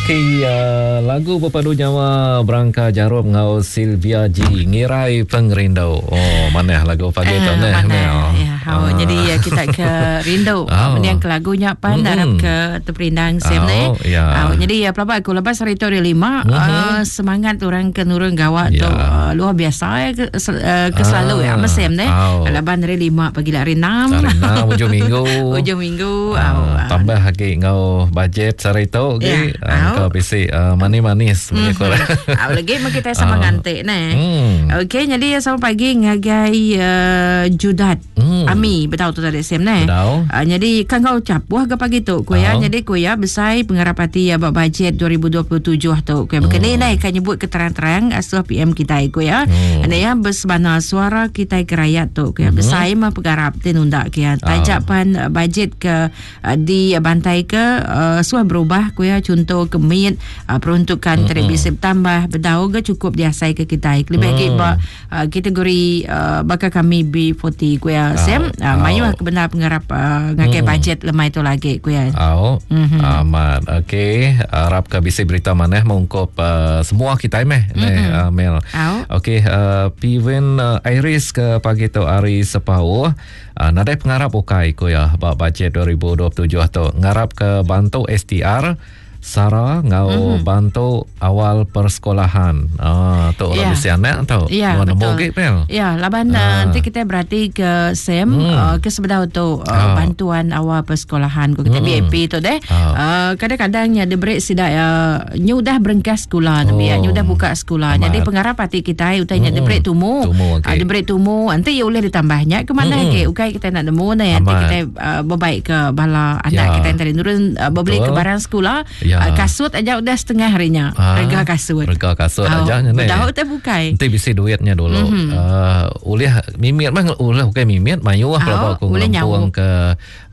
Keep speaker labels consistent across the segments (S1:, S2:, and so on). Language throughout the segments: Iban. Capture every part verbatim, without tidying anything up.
S1: Okey, uh, lagu berpadu nyawa Berangka Jarum ngau Sylvia G, Ngirai Pengerindu. Oh, manah lagu pagi tu
S2: Ah,
S1: neh,
S2: manah.
S1: Mel.
S2: Ya, oh,
S1: Ah.
S2: jadi ya, kita ke rindu
S1: Oh.
S2: mending ke lagunya pan
S1: Mm-mm.
S2: harap ke terperindang sem
S1: Oh,
S2: ne.
S1: ya.
S2: Oh, jadi ya pelabak aku lepas hari tu hari lima
S1: Mhm.
S2: uh, semangat orang ke nurun gawak
S1: Ya.
S2: tu uh, luar biasa ya ke, sel, uh, ke selalu ya
S1: Ah.
S2: mesem ne.
S1: Oh.
S2: Laban hari lima pagi lah hari enam.
S1: Hari enam hujung minggu.
S2: Hujung minggu.
S1: Ah,
S2: Oh, ah.
S1: tambah lagi ngau bajet sehari tu
S2: Ya.
S1: ke ah,
S2: Au.
S1: kau bisi uh, manis-manis mm-hmm.
S2: Ah, lagi mah kita sama
S1: Ah.
S2: ngantik ne.
S1: Hmm.
S2: Okey, jadi selamat pagi ngagai uh, Judat.
S1: Hmm.
S2: Ami betul tu tadi Sam ne.
S1: Betul.
S2: Uh, jadi kan kau capuh ke pagi tu ku ya.
S1: Ah.
S2: Jadi ku ya besai pengarapati ya bab bajet dua ribu dua puluh tujuh tu. Ku ya berkena hmm. kan nyebut keterang-terang asuh P M kita ku ya.
S1: Hmm.
S2: Ane ya bersebana suara kita ke rakyat tu ku ya besai mah pengarap tinunda ku ya. Tajak
S1: Ah.
S2: pan uh, bajet ke uh, di bantai ke uh, suah berubah ku ya contoh kemit uh, peruntukan mm-hmm. televisi bertambah bedau ke cukup diasai ke kita lebih lagi
S1: Mm.
S2: ba uh, kategori uh, bakal kami B empat puluh ku ya Sam uh,
S1: Au.
S2: mayu kebenar pengarap uh, ngakai
S1: Mm.
S2: bajet lemai tu lagi ku ya.
S1: Au.
S2: Mhm.
S1: Amat. Okey, harap ke bisi berita maneh mengungkup uh, semua kita meh mm-hmm. neh uh, Mel.
S2: Au.
S1: Okey, uh, Piven uh, Iris ke pagi tu hari sepau. Uh, nadai pengarap ukai ku ya bab bajet dua ribu dua puluh tujuh tu. Ngarap ke bantu S T R Sara ngau mm-hmm. bantu awal persekolahan. Ah, tu orang
S2: Ya.
S1: bisi anak tu.
S2: Ya,
S1: Nuan nemu
S2: betul.
S1: ge, Mel.
S2: Ya, laban
S1: Ah.
S2: uh, nanti kita berarti ke Sam
S1: Hmm.
S2: uh, ke sebedau tu uh,
S1: Ah.
S2: bantuan awal persekolahan ku kita
S1: Hmm.
S2: B A P tu deh.
S1: Ah.
S2: Uh, kadang-kadangnya dia beri sidak uh, nyu dah berengkas sekolah oh.
S1: Oh.
S2: ya, nyu dah buka sekolah.
S1: Amat.
S2: Jadi pengarap hati kita utainya
S1: Hmm.
S2: dia beri tumu.
S1: Tumu, okey.
S2: Uh, dia beri tumu nanti ya boleh ditambahnya ke mana
S1: Hmm.
S2: ke ukai kita nak nemu ne nanti
S1: Amat.
S2: kita uh, berbaik ke bala anak
S1: Ya.
S2: kita yang tadi nurun uh, berbeli ke
S1: Betul.
S2: barang sekolah.
S1: Ya.
S2: Uh, kasut aja udah setengah harinya.
S1: Ah,
S2: Harga kasut.
S1: Harga kasut
S2: Oh,
S1: aja nya ni.
S2: Bedau teh bukai.
S1: Nanti bisi duitnya dulu. Mm-hmm. Uh, ulih mimit mah ulih bukan mimit mayu lah
S2: Oh,
S1: kalau aku
S2: ulih
S1: ngelempung
S2: nyawuk.
S1: ke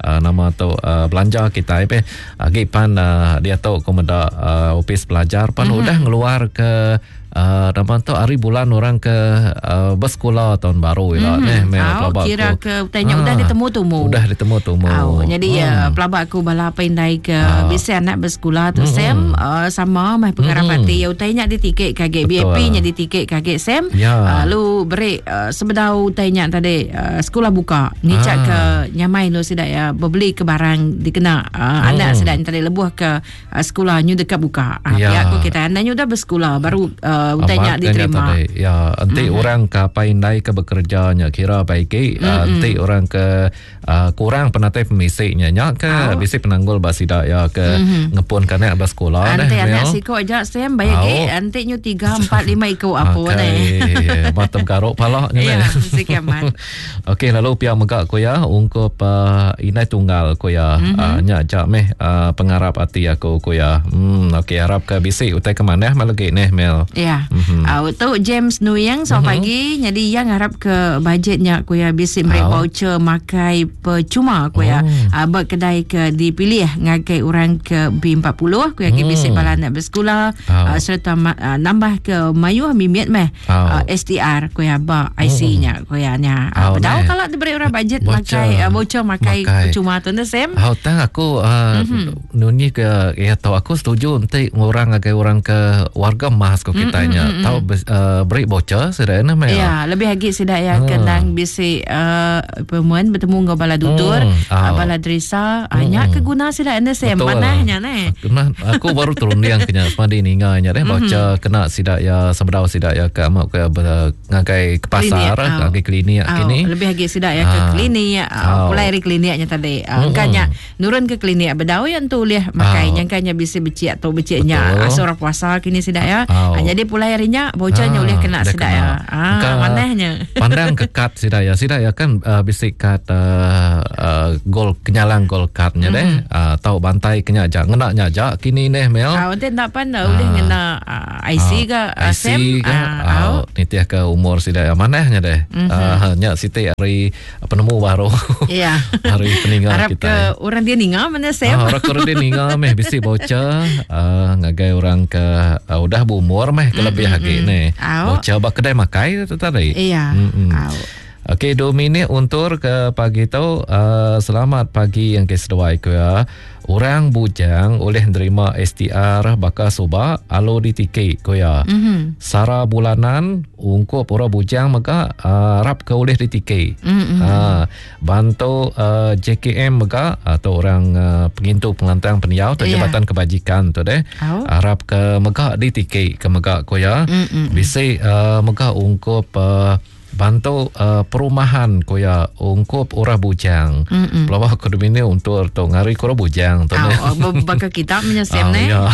S1: uh, nama tu uh, belanja kita pe. Agi pan uh, dia tu aku meda uh, ofis pelajar pan mm-hmm. udah ngeluar ke uh, nama tu hari bulan orang ke uh, bersekolah tahun baru mm-hmm. lah neh
S2: Oh,
S1: pelabak
S2: kira
S1: aku.
S2: ke utainya udah ditemu tumu.
S1: Udah ditemu tumu.
S2: Oh, jadi ya pelabak aku bala pandai ke
S1: Ah.
S2: bisa anak bersekolah tu
S1: Hmm.
S2: Sam uh, sama mah pengarap
S1: Hmm.
S2: hati ya utainya ditikik kage
S1: Betul.
S2: B A P nya ditikik kage Sam.
S1: Ya.
S2: Uh, lu beri uh, sebedau utainya tadi uh, sekolah buka ngicak
S1: Ah.
S2: ke nyamai lu sidak ya berbeli ke barang dikena uh,
S1: Hmm.
S2: anak sidak tadi lebuh ke uh, sekolah nyu dekat buka. Uh,
S1: Ya.
S2: Pihak aku kita anak nyu dah bersekolah baru uh, utainya
S1: Amat kan
S2: diterima.
S1: tadi. Ya, enti mm-hmm. orang ke apa indai ke bekerjanya kira baik mm-hmm. uh, enti orang ke uh, kurang penatai pemisiknya nya ke
S2: Au.
S1: bisi penanggul basidak ya ke mm-hmm. ngepun kanak bersekolah
S2: Ante
S1: dah,
S2: anak
S1: Mel.
S2: siko aja Sam bayar
S1: Au.
S2: ke ante nyu tiga empat lima iko apa
S1: Akai,
S2: ni.
S1: Matem karuk palak nya
S2: Ya,
S1: ni.
S2: mesti kiamat.
S1: Okey lalu pihak megak ku ya ungkup uh, inai tunggal ku ya mm-hmm. uh, nya jak meh uh, pengarap hati aku ku ya. Hmm okey harap ke bisi utai ke manah malegi neh Mel.
S2: Ya.
S1: Mhm.
S2: Mm-hmm. Uh, tu James Nuyang selamat mm-hmm. pagi. Jadi yang harap ke bajetnya ku ya bisi beri
S1: Au.
S2: voucher makai percuma ku ya.
S1: Oh.
S2: Uh, berkedai ke dipilih ngagai orang ke B empat puluh ku ya ke
S1: Hmm.
S2: bisi bala anak bersekolah
S1: Au.
S2: uh, serta ma- uh, nambah ke mayuh mimit meh
S1: Au.
S2: uh, S T R ku ya ba I C nya ku ya nya. Uh,
S1: Au,
S2: bedau
S1: neh.
S2: kalau diberi orang bajet
S1: Voucher.
S2: makai uh, voucher makai,
S1: Makai.
S2: percuma tu ne Sam.
S1: Hau tang aku uh, mm-hmm. nuni ke ya tahu aku setuju nanti orang ngagai orang ke warga emas ko kita nya
S2: Mm-mm,
S1: tahu uh, beri voucher sudah na Mel.
S2: Ya, lebih lagi sidak ya
S1: Ah.
S2: kenang bisi uh, perempuan bertemu dengan bala dutur,
S1: Hmm,
S2: uh,
S1: ah.
S2: bala drisa, uh, nya keguna sidak anda sem
S1: Betul.
S2: manahnya ne.
S1: Aku, nah, aku baru terundiang kenya semadi ninga nya deh baca kena sidak ya sebedau sidak ya ke amak ke ber- ngagai ke pasar
S2: Klinik, ah.
S1: ngagai klinik
S2: Ah,
S1: kini.
S2: lebih lagi sidak ya ke
S1: Ah.
S2: klinik, uh,
S1: Ah.
S2: pulai dari kliniknya tadi. Uh,
S1: Mm-mm.
S2: Kanya nurun ke klinik bedau yang tu liah makai
S1: Ah.
S2: nya kanya bisi becik atau beciknya
S1: Betul.
S2: asal orang puasa kini sidak ya.
S1: Ah.
S2: Uh, jadi pulai harinya bocahnya
S1: Ah,
S2: boleh kena
S1: dah
S2: sidak
S1: kena.
S2: ya. Ah,
S1: Engkau
S2: manahnya.
S1: Pandang ke kad sidak ya. Sidak ya kan uh, bisi kad uh, uh, gol kenyalang gol kadnya mm-hmm. deh. Uh, tahu bantai kenya jak ngena nya jak kini neh Mel.
S2: Ah, nanti nak pan uh, boleh
S1: Ah.
S2: ngena uh, I C ke uh,
S1: I C
S2: Sam
S1: ke
S2: Ah,
S1: ah,
S2: au.
S1: nitih ke umur sidak ya manahnya deh. Mm-hmm. Uh, nya siti hari penemu baru.
S2: Ya.
S1: Hari peninggal
S2: Harap
S1: kita.
S2: ke orang dia ninga mana Sam.
S1: Ah, orang orang dia ninga meh bisi voucher uh, ngagai orang ke uh, udah berumur meh ke lebih
S2: Mm,
S1: lagi
S2: mm,
S1: ni.
S2: Au.
S1: Voucher bak kedai makai tu tadi.
S2: Iya.
S1: Mm-mm.
S2: Au.
S1: Okey, dua minit untur ke pagi tu. Uh, selamat pagi yang ke seduai ke ya. Orang bujang oleh nerima S T R bakal subak alu ditiki ko ya.
S2: Mm-hmm.
S1: Sara bulanan ungkup orang bujang mega uh, rap ke oleh ditiki.
S2: Mm-hmm.
S1: Uh, bantu uh, J K M mega atau orang uh, pengintu pengelantang peniau atau
S2: yeah.
S1: Jabatan Kebajikan tu deh.
S2: Oh.
S1: Harap ke mega ditiki ke mega ko ya.
S2: Mm-hmm.
S1: Bisi uh, mega ungkup uh, bantu uh, perumahan koya ungkup orang bujang. Pelawak aku ini untuk tu ngari kura bujang tu.
S2: Oh, bakal kita menyesem ne.
S1: Ya.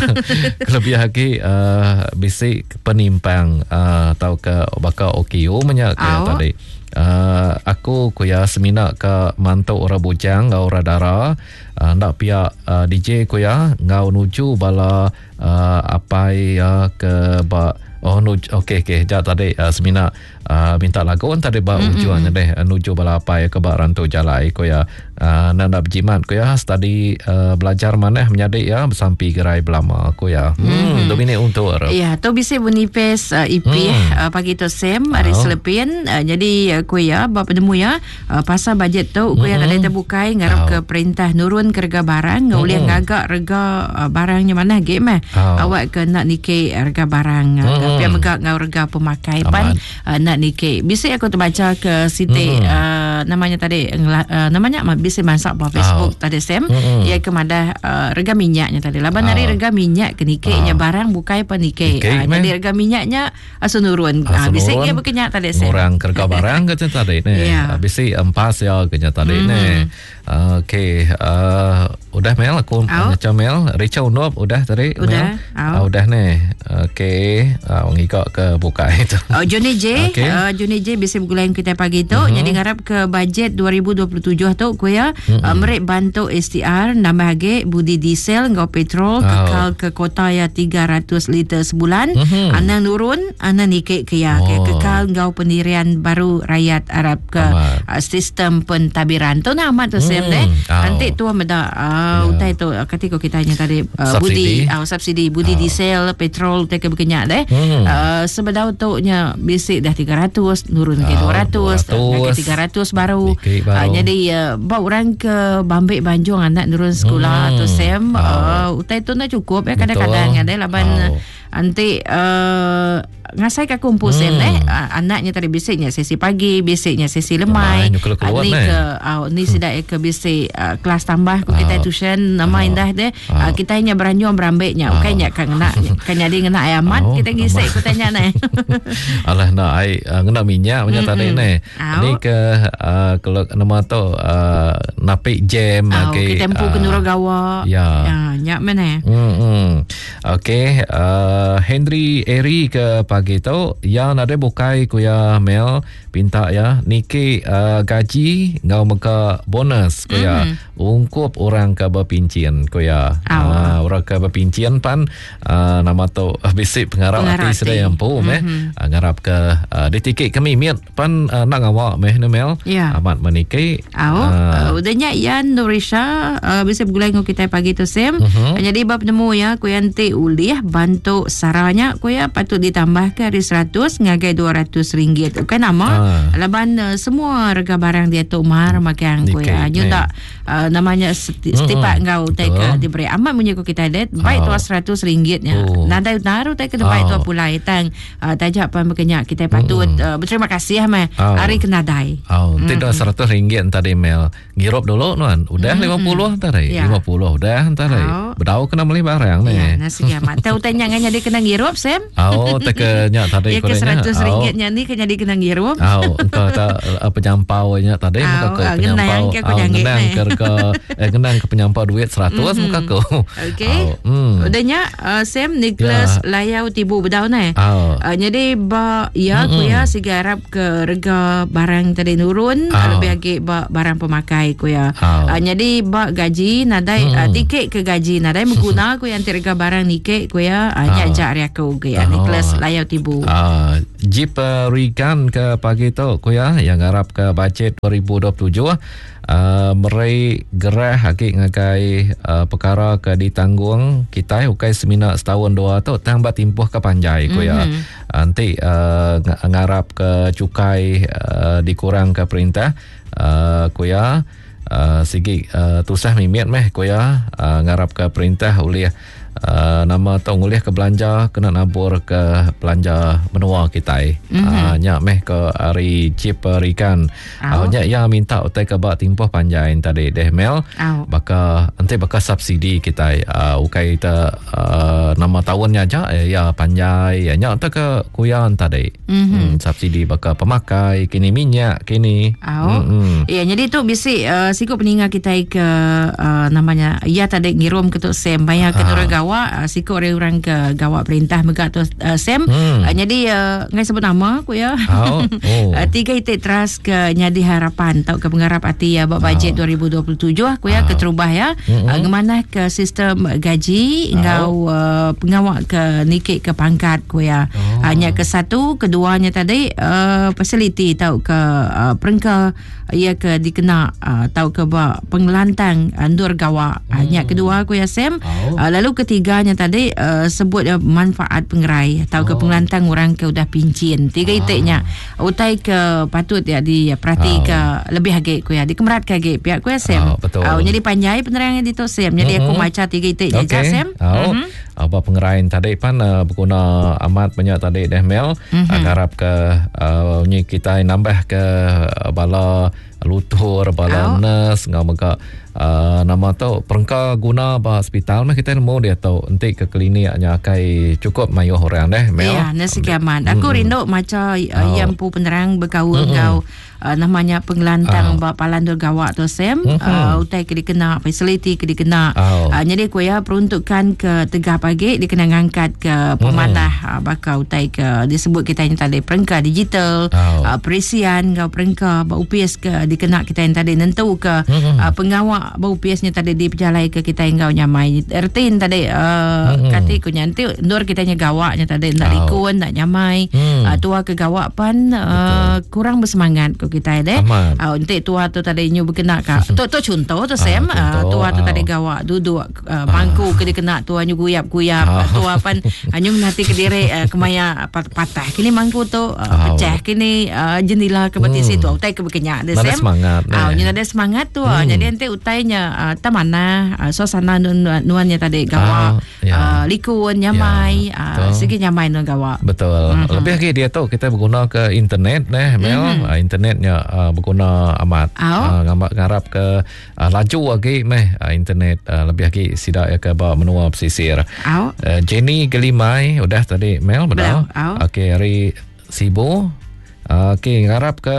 S1: Kelebih lagi uh, bisi penimpang uh, atau ke bakal O K U menyak ke
S2: oh.
S1: tadi. Uh, aku kuya semina ke mantu orang bujang ngau orang dara uh, ndak pihak uh, D J kuya ngau nuju bala uh, apai uh, ke ba oh nuju okey okey jap tadi uh, semina uh, minta lagu tadi ba
S2: mm-hmm.
S1: ujuan deh uh, nuju bala apai ke ba rantu jalai kuya uh, nak nak berjimat kuya study uh, belajar maneh menyadik ya bersampi gerai belama kuya hmm
S2: mm-hmm.
S1: Dominic untuk
S2: ya tu bisa Bonifes uh, I P
S1: mm.
S2: uh, pagi tu Sam hari
S1: oh.
S2: Selepin uh, jadi uh, kuya ba penemu ya uh, pasal bajet tu kuya
S1: mm-hmm.
S2: mm-hmm. ada terbukai ngarap
S1: oh.
S2: ke perintah nurun ke rega barang ngoleh
S1: mm-hmm.
S2: ngagak rega uh, barangnya mana ge meh
S1: oh.
S2: awak ke nak nike rega barang
S1: mm-hmm.
S2: uh, pia megak ngau rega pemakai pan uh, nak nike bisa aku terbaca ke siti
S1: mm-hmm.
S2: uh, namanya tadi uh, namanya bisa masak ba Facebook
S1: oh.
S2: tadi Sam
S1: mm-hmm.
S2: ia kemada uh, rega minyaknya tadi laban
S1: oh.
S2: hari rega minyak ke nike nya
S1: oh.
S2: barang bukai pan nike
S1: Nike,
S2: uh, jadi rega minyaknya asu nurun
S1: uh,
S2: bisa ia berkenyak tadi Sam
S1: orang kerja barang ke tadi ni
S2: yeah.
S1: Bisa empas ya kenya tadi
S2: mm-hmm.
S1: ni okey uh, udah Mel aku
S2: oh.
S1: macam Mel Richard Unop udah tadi
S2: udah
S1: Mel
S2: oh.
S1: uh, udah ni okey uh, ngikok ke buka itu
S2: oh, Johnny J
S1: okay.
S2: uh, Johnny J bisa bergulain kita pagi tu
S1: mm-hmm.
S2: jadi ngarap ke bajet dua ribu dua puluh tujuh tu kuya
S1: mm-hmm.
S2: uh, merik bantu S T R nambah lagi budi diesel ngau petrol
S1: oh.
S2: kekal ke kota ya tiga ratus liter sebulan
S1: mm-hmm.
S2: anang nurun anang nikik ke ya
S1: oh.
S2: ke kekal ngau pendirian baru rakyat Arab ke uh, sistem pentadbiran tu nama tu Sam
S1: mm.
S2: deh
S1: oh.
S2: nanti tu meda uh,
S1: yeah.
S2: utai tu ketika kita tanya tadi uh,
S1: subsidi.
S2: Budi uh, subsidi budi
S1: oh.
S2: diesel petrol te ke berkenyak deh
S1: mm.
S2: uh, sebedau tu nya bisik dah tiga ratus nurun ke
S1: oh,
S2: dua ratus ke tiga ratus baru,
S1: baru.
S2: Uh, jadi uh, bawa orang ke Bambik Banjung anak nurun sekolah
S1: hmm.
S2: tu Sam
S1: oh.
S2: uh, utai tu nak cukup ya kadang-kadang ada laban
S1: oh.
S2: nanti uh, ngasai ke kumpul
S1: hmm.
S2: Sam eh uh, anaknya tadi bisiknya sesi pagi bisiknya sesi lemai
S1: uh,
S2: ni ke uh, ni sidak ke bisik uh, kelas tambah ku kita
S1: oh.
S2: tuition nama
S1: oh.
S2: indah deh
S1: oh.
S2: uh, kita hanya beranjung berambeknya
S1: oh.
S2: bukannya kan ngena kan jadi ngena ayamat
S1: oh.
S2: kita ngisik ku tanya nai
S1: alah nak ai uh, ngena minyak punya tadi ni ni ke uh, kalau nama tu uh, napik jam
S2: oh,
S1: okey
S2: kita tempu
S1: uh,
S2: ke Nuragawa
S1: ya
S2: ya nyak mana
S1: hmm okey uh, Henry Eri ke pagi tu yang ada bukai kuya Mel pinta ya niki uh, gaji ngau meka bonus kuya
S2: mm-hmm.
S1: ungkup orang ke berpincin kuya
S2: oh.
S1: uh, orang ke berpincin pan uh, nama tu uh, bisik pengarap hati sedai yang pu meh
S2: mm-hmm.
S1: uh, ngarap ke uh, ditikik kami miat pan uh, nak ngawak meh ne Mel
S2: yeah.
S1: Amat meniki
S2: oh
S1: uh,
S2: uh, udahnya Yan Nurisha uh, bisa bergulai ngau kita pagi tu Sam
S1: mm-hmm.
S2: Jadi bab nemu ya kuya nanti ulih bantu saranya kuya patut ditambah ke hari seratus ngagai dua ratus ringgit. Bukan nama
S1: Ah.
S2: laban uh, semua harga barang dia tu mahal makan kuya. Nyu tak uh, namanya seti, setipak
S1: Mm-mm.
S2: ngau tai ke diberi amat punya ku kita det baik
S1: Ah.
S2: tu seratus ringgitnya.
S1: Oh.
S2: Nadai naru tai ke baik
S1: Ah.
S2: tu pulai tang uh, tajak pan berkenyak kita patut
S1: Mm-mm.
S2: uh, berterima kasih meh
S1: Ah.
S2: hari kena dai.
S1: Oh, mm. Tidak seratus ringgit tadi Mel. Ngirup dulu nuan. Udah lima puluh tadi.
S2: Ya.
S1: Lima puluh udah tadi.
S2: Oh.
S1: Bedau kena beli barang ni.
S2: Ya, nasi kiamat. Tahu tanya nganya dia kena ngirup Sam?
S1: Oh, tak kenya tadi
S2: Ya ke seratus ringgitnya ni kena dia kena ngirup.
S1: Oh, engkau tak uh, penyampaunya tadi
S2: Oh,
S1: muka ke
S2: ah,
S1: penyampau.
S2: genang ke aku
S1: Oh,
S2: janggit
S1: genang
S2: ni.
S1: ke ke eh, genang ke penyampau duit seratus muka aku.
S2: Okey.
S1: Oh, hmm.
S2: Udahnya uh, Sam Nicholas
S1: Ya.
S2: Layau Tibu bedau ni.
S1: Oh.
S2: Uh, jadi ba ya
S1: Mm-mm.
S2: ku ya siga harap ke rega barang tadi nurun
S1: Ah.
S2: lebih lagi ba barang pemakai ku ya.
S1: Ah.
S2: Uh, jadi ba gaji nadai
S1: Mm-mm.
S2: uh, tiket ke gaji gaji nadai mengguna ku yang rega barang nike ku ya nya jak ari aku ke ya Nicholas Layau Tibu.
S1: Ah, Jeep uh, Regan ke pagi tu ku ya yang ngarap ke bajet dua ribu dua puluh tujuh uh, meri gerah agi ngagai uh, perkara ke ditanggung kita ukai semina setahun dua tu tang ba timpuh ke panjai ku ya. Nanti uh, ngarap ke cukai uh, dikurang ke perintah uh, ku ya uh, sigi uh, tusah mimit meh ku ya uh, ngarap ke perintah ulih Uh, nama tu ngulih ke belanja kena nabur ke belanja menua kita. Mm-hmm. Uh, nya meh ke ari Jeep Rikan. Uh, nya ya minta utai ke ba timpuh panjai tadi deh Mel.
S2: Oh.
S1: Baka enti baka subsidi kita uh, ukai ta uh, nama tahunnya aja ya panjai ya nya te ke kuyan tadi.
S2: Mm-hmm.
S1: Hmm, subsidi baka pemakai kini minyak kini.
S2: Oh.
S1: Mm-hmm.
S2: Ya jadi tu bisi uh, siku peninga kita ke uh, namanya ya tadi ngirum ke tu Sam bayar ke uh. gawa siku orang ke gawak perintah mega tu uh, Sam
S1: hmm.
S2: uh, jadi uh, ngai sebut nama aku ya.
S1: Oh. Oh.
S2: uh, tiga itik teras ke nyadi harapan tau ke pengarap hati ya buat bajet
S1: oh.
S2: dua ribu dua puluh tujuh aku ya
S1: oh.
S2: keterubah ya
S1: mm-hmm.
S2: uh, ngemanah ke sistem gaji
S1: oh.
S2: ngau uh, pengawak ke nikik ke pangkat ku ya.
S1: Oh.
S2: Uh, nya ke satu keduanya tadi uh, fasiliti tau ke uh, perengka ia ke dikena uh, tau ke ba pengelantang andur gawak.
S1: Hmm.
S2: Uh, nya kedua aku ya Sam.
S1: Oh.
S2: Uh, lalu ketiganya tadi uh, sebut uh, manfaat pengerai atau
S1: oh.
S2: ke pengelantang orang ke udah pincin. Tiga
S1: ah.
S2: itiknya utai ke patut ya diperhati
S1: oh.
S2: ke lebih agi ku ya dikemerat ke agi pihak ku ya Sam.
S1: Oh, betul.
S2: Uh, jadi panjai penerangan di tu Sam. Jadi
S1: mm-hmm.
S2: aku baca tiga itiknya
S1: okay.
S2: okay. Sam.
S1: Oh.
S2: Mm-hmm.
S1: Apa pengerai tadi pan uh, berguna amat banyak tadi deh Mel.
S2: Mm-hmm.
S1: Harap ke uh, ni kita nambah ke bala lutur bala
S2: oh.
S1: nurse ngau mega uh, nama tu perengka guna ba hospital mah kita nemu dia tu enti ke kliniknya akai cukup mayuh orang deh Mel.
S2: Ya, nasi kiaman. Aku
S1: mm-hmm.
S2: rindu maca uh,
S1: oh.
S2: yang pu penerang berkaul
S1: mm-hmm.
S2: ngau uh, namanya pengelantang
S1: oh.
S2: ba palan dur gawak tu Sam.
S1: Mm-hmm.
S2: Uh, utai ke dikena fasiliti ke dikena.
S1: Oh.
S2: Uh, jadi ku ya peruntukan ke tegah pagi dikena ngangkat ke pemanah
S1: mm-hmm.
S2: uh, bakal utai ke disebut kita yang tadi perengka digital,
S1: oh.
S2: uh, perisian ngau perengka ba upis ke dikena kita yang tadi nentu ke
S1: mm-hmm.
S2: uh, pengawak bau piasnya tadi dipejalai ke kita yang gau nyamai ertin tadi uh,
S1: mm-hmm.
S2: kati ku nyanti nur kita nya gawaknya tadi ndak
S1: oh.
S2: likun ndak nyamai
S1: mm.
S2: uh, tua ke gawak pan uh, kurang bersemangat ku kita deh
S1: uh,
S2: entik tua tu tadi nyu berkena ka tu tu contoh tu Sam
S1: ah,
S2: uh, tua tu
S1: oh.
S2: tadi gawak duduk uh, bangku ke dikena tua nyu guyap-guyap
S1: oh.
S2: tua pan nyu nanti ke diri uh, kemaya patah kini mangku tu uh,
S1: oh.
S2: pecah kini uh, jendela ke beti
S1: mm.
S2: situ utai ke berkenyak deh Sam
S1: semangat
S2: ah uh, ada semangat tu
S1: hmm.
S2: Jadi nanti utainya uh, tamana uh, suasana nuannya tadi gawak
S1: ah, ya.
S2: uh, likun nyamai
S1: ya,
S2: uh, segi nyamai nuan gawak.
S1: Betul.
S2: Mm-hmm.
S1: Lebih lagi dia tu kita berguna ke internet neh Mel.
S2: Mm-hmm.
S1: Uh, internetnya uh, berguna amat.
S2: Oh.
S1: Uh, ngambak ngarap ke uh, laju lagi meh uh, internet uh, lebih lagi sidak ya ke ba menua pesisir.
S2: Oh.
S1: Uh, Jenny Gelimai udah tadi Mel betul.
S2: Oh.
S1: Okey hari Sibu. Okey, ngarap ke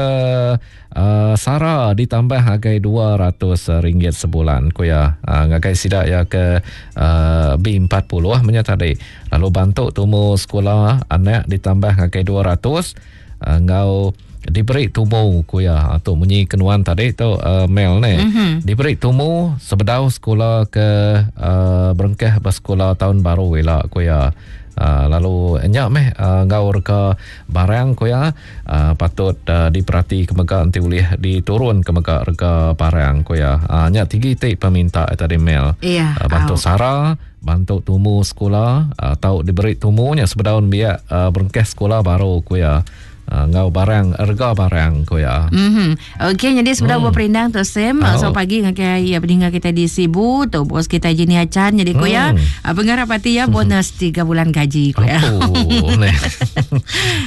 S1: uh, Sara ditambah hagai dua ratus ringgit sebulan ku ya. Uh, ngagai sidak ya ke uh, B empat puluh punya tadi. Lalu bantu tumu sekolah anak ditambah hagai dua ratus uh, ngau diberi tumu ku ya. Tu munyi kenuan tadi tu uh, Mel ni.
S2: Mm-hmm.
S1: Diberi tumu sebedau sekolah ke uh, berengkah bersekolah tahun baru ila ku ya. Uh, lalu nyak meh uh, ngau reka barang ku ya uh, patut uh, diperhati ke mega nanti boleh diturun ke mega reka barang ku ya. Uh, nyak tinggi tik peminta tadi Mel.
S2: Iya.
S1: Uh, bantu
S2: au.
S1: Sara, bantu tumu sekolah uh, tau diberi tumunya sebedaun biak uh, berengkah sekolah baru ku ya. Uh, ngau barang rega barang ku ya.
S2: Mhm. Okey, jadi sebelah
S1: Hmm.
S2: mm. berperindang tu Sam,
S1: Oh.
S2: so pagi ngakai ya pendengar kita di Sibu tu bos kita Jenny Acan jadi ku ya.
S1: Hmm.
S2: Uh, pengarap hati ya bonus tiga bulan gaji ku ya.
S1: Apo ni.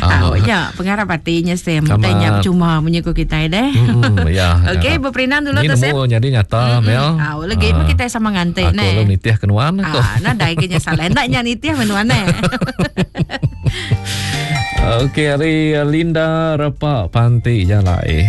S2: Ah, ya, pengarap hatinya Sam.
S1: Kamat.
S2: Tanya percuma munyi ku kita deh.
S1: Hmm, ya.
S2: Okey, berperindang dulu
S1: Ni
S2: tu Sam.
S1: nemu jadi nyata Mel.
S2: Ah, lagi mah kita sama ngantik
S1: Aku
S2: ne.
S1: lu nitih kenuan aku.
S2: Ah, nadai kenya salah. Ndaknya nitih menuan ne.
S1: Okey, hari Linda Repak Panti Jalai.